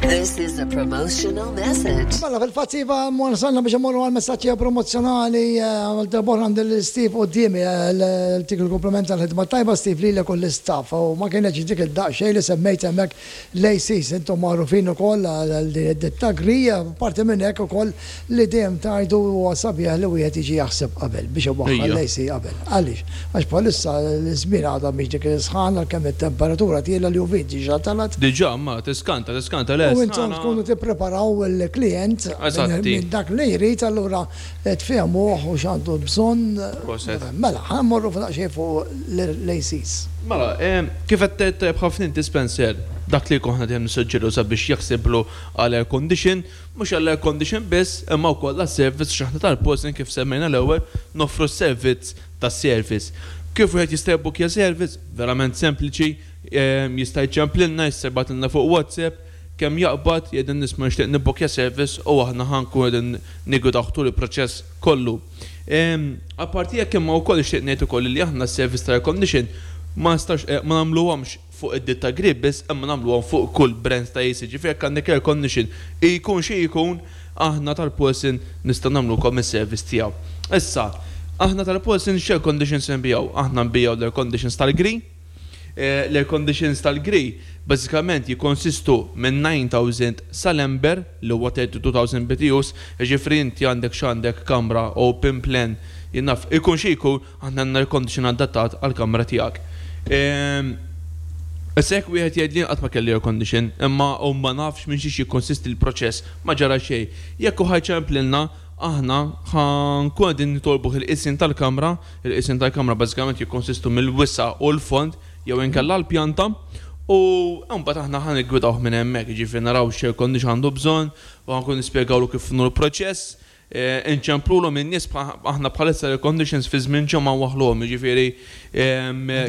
This is a promotional message. Mela fil-fatt iva wasalna biex immorru għal messaġġi promozzjonali għal darb'oħra għandi lil Steve quddiemi dik il-kumpliment tal-ħidma tajba Steve lilek u l-istaff u ma kienetx dik id-daqsxejn li semmejt hemmhekk L-ACs intom magħrufin ukoll għal din id-ditta Gree, apparti minn hekk ukoll li dejjem tgħidu huwa sabiħ li wieħed jiġi jaħseb qabel biex iwaħħal l-AC qabel. Għaliex? Għax bħalissa l-żmien għadha mhix dik is-sħana għalkemm it-temperatura tiela' l-UV diġà telgħet. Diġà, ma tiskanta, tiskanta le U intom tkunu tippreparaw il-klijent minn dak li jrid allura tfehmuh u x'għandu bżonn. Proset. Mela, ħa mmorru daqsxejn fuq l-ACs. Mela, kif qed tgħid tajjeb ħafna inti Spencer, dak li jkun aħna dejjem nissuġġeru sabiex jaħsiblu għal air condition, mhux għall air condition biss, imma wkoll għas-service għax aħna tal-Posen kif semmejna l-ewwel noffru s-servizz tas-service. Kif wieħed jista' jibbukkja service? Verament sempliċi, jista' jċemplilna, jista' jibgħatilna fuq WhatsApp, Kemm jaqbad, jgħidilna isma' nixtieq nibbukkja service u aħna ħa nkunu qegħdin niggwidawh tul il-proċess kollu. Apparti hekk imma wkoll nixtieq ngħid ukoll li aħna s-service ta' air condition ma nistgħux ma nagħmluhomx fuq id-ditta Grip biss imma nagħmluhom fuq kull brand ta' AC. Ġifieri jekk għandek air condition jkun xi jkun aħna tal-Paulson nistgħu nagħmlulkom is-service tiegħu. Issa, aħna tal-Paulson x'air conditions inbigħu? Aħna nbigħu l-air conditions tal-Gree, L-air conditions tal-Grey bażikament jikkonsistu minn 9,000 sal-Ember li huwa 32,000 BTUs, jiġifieri inti għandek x'għandek kamra open plan, jien naf, ikun xi jkun, aħna għandna air condition adattat għall-kamra tiegħek. Issa jekk wieħed jgħidli jien qatt ma kelli air condition, imma u ma nafx minn xiex jikkonsisti l-proċess, ma ġara xejn. Jekk hu ħa jċemplilna, aħna ħa nkunu qegħdin nitolbuh il-qisien tal-kamra, Il-qisien tal-kamra bażikament jikkonsistu mill-wisa' u l-fond jew inkella l-pjanta u mbagħad aħna ħa niggwidawh minn hemmhekk, jiġifieri naraw x'air condition għandu bżonn u ħa nkunu nispjegawlu kif inhu l-proċess, inċemplulhom in-nies aħna bħalissa l-air conditions fi żmien ġimgħa nwaħħluhom, jiġifieri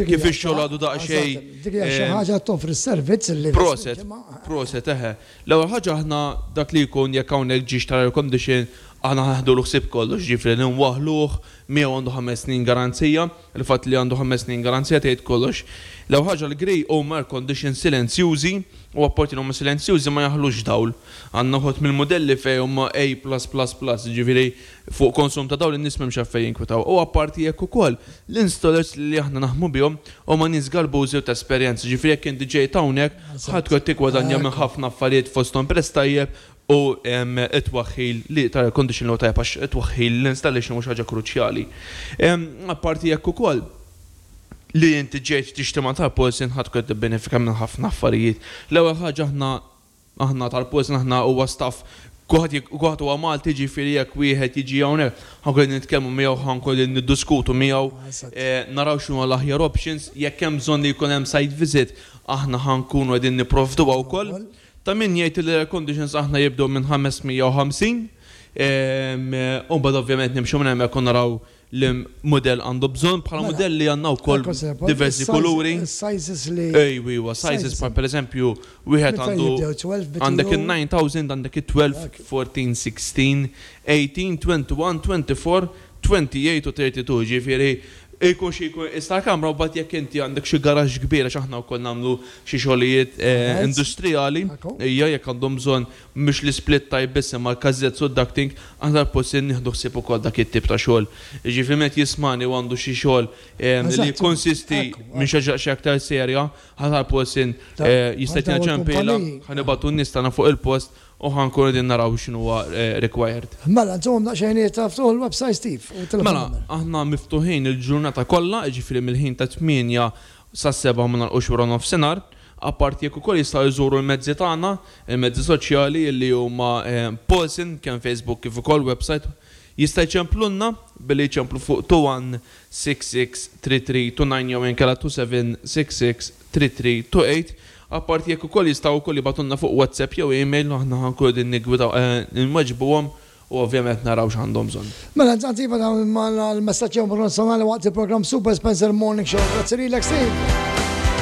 kif ix-xogħol għadu daqsxejn. Dik hija xi ħaġa toffri s-servizz li. Proset, proset, eħe. L-ewwel ħaġa aħna dak li jkun jekk hawnhekk ġie xtara air condition aħna ħa neħdulu ħsieb kollox, jiġifieri nwaħħluh, Miegħu għandu ħames snin garanzija. Il-fatt li għandu ħames snin garanzija tgħid kollox. L-ewwel ħaġa l-Grey huma air conditions silenzjużi u apparti li huma silenzjużi ma jaħlux dawl. Għandna wħud mill-mudelli fejn huma A plus plus plus, jiġifieri fuq konsum ta' dawl in-nies m'hemmx għalfejn jinkwetaw. U apparti hekk ukoll, l-installers li aħna naħdmu bihom huma nies galbużi u ta' esperjenza, jiġifieri jekk inti ġejt hawnhekk ħa tkun qed tiggwadanja minn ħafna affarijiet fosthom prezz tajjeb U t-twaħħil li ta' air condition li huwa tajjeb għax it-twaħħil, l-installation huwa xi ħaġa kruċjali. Apparti hekk ukoll, li inti ġejt tixtri ma' tal-Polson ħa tkun qed tibbenefika minn ħafna affarijiet. L-ewwel ħaġa aħna aħna tal-Polson aħna huwa staff kulħadd kulħadd huwa Malti jiġifieri jekk wieħed jiġi hawnhekk ħa nkunu qegħdin nitkellmu miegħu ħa nkunu qegħdin niddiskutu miegħu naraw x'inhuma l-aħjar options, jekk hemm bżonn li jkun hemm site visit aħna ħa nkunu qegħdin nipprovduha wkoll. Ta' min jgħid li l-air conditions aħna jibdew minn 550 u mbagħad ovvjament nimxu minn hemmhekk u naraw li mudell għandu bżonn. Bħala mudelli għandna wkoll diversi kuluri. Ejwa, iwa, sizes bħal pereżempju wieħed għandu għandek in-9000, għandek it-12, 14, 16, 18, 21, 24, 28 u 32, jiġifieri jkun xi jkun il-qies tal-kamra u mbagħad jekk inti għandek xi garaxx kbir għax aħna wkoll nagħmlu xi xogħlijiet industrijali, hija jekk għandhom bżonn mhux l-isplit type biss imma l-cassettes u d-ducting, aħna tal-post nieħdu ħsieb ukoll dak it-tip ta' xogħol. Jiġifieri min qed jismagħni u għandu xi xogħol li jikkonsisti minn xi ħaġa daqsxejn aktar serja, aħna tal-post jista' jtina ċempila, ħa nibagħtu n-nies tagħna fuq il-post U ħa nkunu qegħdin naraw x'inhuwa required. Mela, nżommhom daqsxejn ta' ftuħ il-website Steve u t-telefon Mela, number. aħna miftuħin il-ġurnata kollha, jiġifieri mill-ħin tat-tmienja sas-sebgħa ma nagħlqux wara nofsinhar. Apparti hekk ukoll jistgħu jżuru l-mezzi tagħna, il-mezzi soċjali li huma Paulson, kemm Facebook kif ukoll website. Jista' jċemplulna billi jċemplu fuq 21663329 jew inkella 27663328. Apparti hekk ukoll jistgħu wkoll jibagħtulna fuq WhatsApp jew email u aħna ħa nkunu qegħdin niggwidaw inweġbuhom u ovvjament naraw x'għandhom bżonn. Mela intant iva dawn l-messaġġi personali waqt il-programm Super Spencer Morning Show. Grazzi lilek Steve.